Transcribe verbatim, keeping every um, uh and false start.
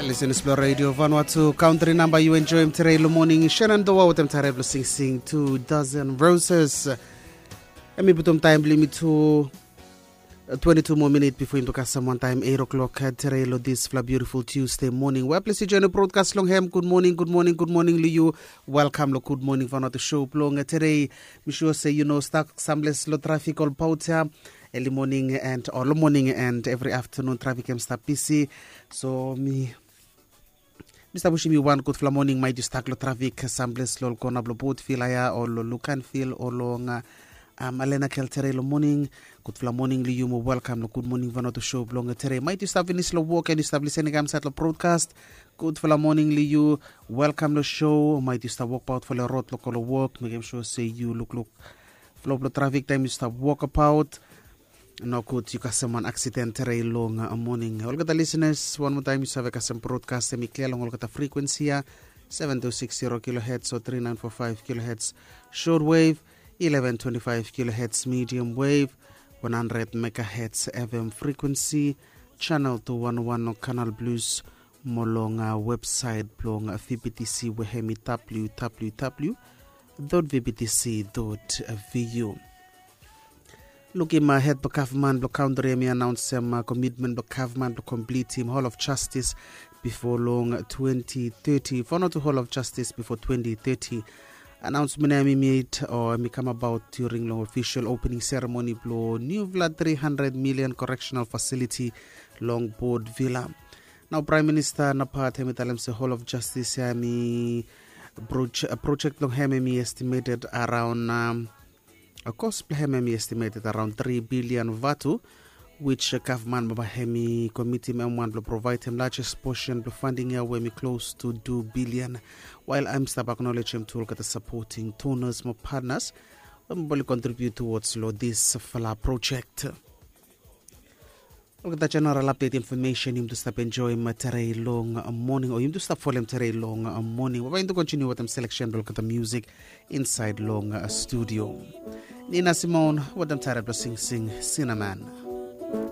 Lisenis blong Radio Vanuatu, country namba yu enjoim tere long moning, Shannon Doa wetem tare blong singsing Two Dozen Roses. Em i putum taem blong yumi tu twenty-two moa minit bifo yumi tu kasem wantaem eight o'clock tere long disfala beautiful Tuesday moning. Wea ples yu join broadcast long hem, good morning, good morning, good morning long yu. Welcome long Good Morning Vanuatu show blong tere. Mi sure se yu no stuck someplace long traffic olbaot ya. Early morning and or long morning and every afternoon traffic em stap busy. So mi mi stap wishim yu wan gudfala moning. Maet yu stuck long traffic someplace long kona blong Port Vila ya o long Luganville o long uh, um, Alena Kel tere long moning. Gudfala moning long yu mo welcome long Good Morning Vanuatu show blong tere. Maet yu stap finis long wok and yu stap lisening kamsait long broadcast. Gudfala moning long yu. Welcome long show. Maet yu stap wokbaot fo long rod long go long wok, mekem sure se yu lukluk flo blong trafik taem yu stap wokbaot. Nogud yu kasem wan aksiden tere long uh, moning. Olgeta lisenas, wan moa taem yu save kasem broadcast em i klia long olgeta frekuensi ya, seven two six zero kilohertz o three nine four five kilohertz short wave, eleven twenty-five kilohertz medium wave, one hundred megahertz F M frequency, channel two one one o Canal Plus, mo long uh, website blong uh, V B T C we hem i W W W dot V B T C dot V U. Lukim uh, hed blong gavman blong kantri em i anaonsem uh, komitmen blong gavman blong komplitim Hall of Justice bifo long twenty thirty. Vanuatu Hall of Justice bifo twenty thirty. Anaonsmen ya em i made o em i kamabaot during long ofisol opening seremoni blong niufala three hundred million correctional facility long Port Vila. Nao Praem Minista Napat hem i talem se Hall of Justice ya em i projek blong hem em i estimated araon um, kos blong hem em i estimated araon three billion vatu, which gavman baba hem i komitim em wan blong provaedem largest portion blong funding ya we em i close to two billion. Wael em stap aknolejem tu olgeta supporting donors mo partners we baba oli contribute towards long disfala projek. Olgeta general update information yumi tu stap enjoim tere long moning o yumi tu stap folem tere long moning. Baba yumi tu kontiniu wetem seleksen blong olgeta music insaed long studio. Nina Simone wetem tare blong singsing Cinnamon.